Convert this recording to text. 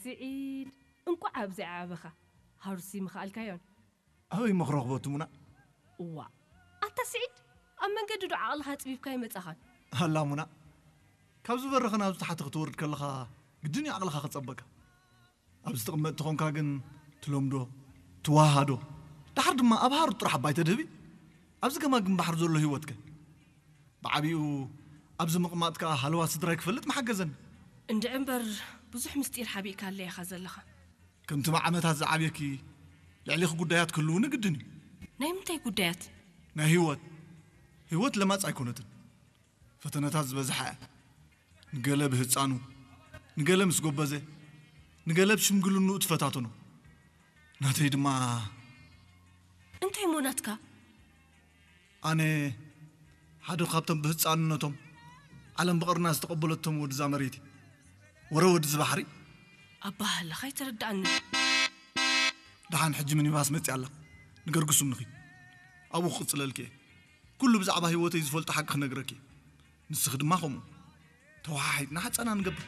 ስዒድ፣ እንቋዕ ኣብዚ ዓበኻ። ሃሩሲ ምኽኣልካዮን። ኣበይ መኽረኽቦ ትሙና? እዋ፣ ኣታ ስዒድ፣ ኣብ መንገዲ ዶ ዓቕልኻ ኣጽቢብካ ይመጻኻን? ኣላ ሙና፣ ካብ ዝበረኸ ናብ ዝተሓተ ክትወርድ ከለኻ ግድን እዩ ዓቕልኻ ክጸበካ። ኣብ ዝትቕመጥ ተኾንካ ግን ትለምዶ፣ ትዋሃዶ፣ ድሓር ድማ ኣብ ሃሩር ጥራሕ ኣባይ ተድህቢ። ኣብዚ ገማግም ባሕሪ ዘሎ ህይወትከ? ብዓቢኡ ኣብዚ ምቕማጥ ከኣ ሃለዋ ስድራይ ክፈልጥ ምሓገዘኒ። እንድዒ እምበር፣ ብዙሕ ምስጢር ሓቢእካለይ ኢኻ ዘለኻ። ከምቲ ብዓመታት ዝዓብየኪ፣ ልዕሊኺ ጉዳያት ክህልውኒ ግድን እዩ። ናይ ምንታይ ጉዳያት? ናይ ህይወት። ህይወት ለማጽ ኣይኮነትን። ፈተነታት ዝበዝሓ እያ። ንገለ ብህጻኑ፣ ንገለ ምስ ጎበዘ፣ ንገለ ብሽምግልንኡ ትፈታተኖ። ናተይ ድማ እንታይ እሞ ናትካ? ኣነ ሓደ ካብቶም ብህጻንነቶም ዓለም ብቐርና ዝተቐበለቶም ወድዛ መሬት እየ። ወረ ወድዚ ባሕሪ። ኣባህላኻ ኣይተረድኣኒ። ደሓን ሕጂ ሚኒባስ መጺኣ ኣላ። ንገርግሱም ንኺድ። ኣብኡ ክቕጽለልኪ እየ። ኩሉ ብዛዕባ ህይወተይ ዝፈልጦ ሓቂ ክነግረኪ እየ። ንስኺ ድማ ከምኡ። ተወሓሒጥና ሓጻና ንገብር።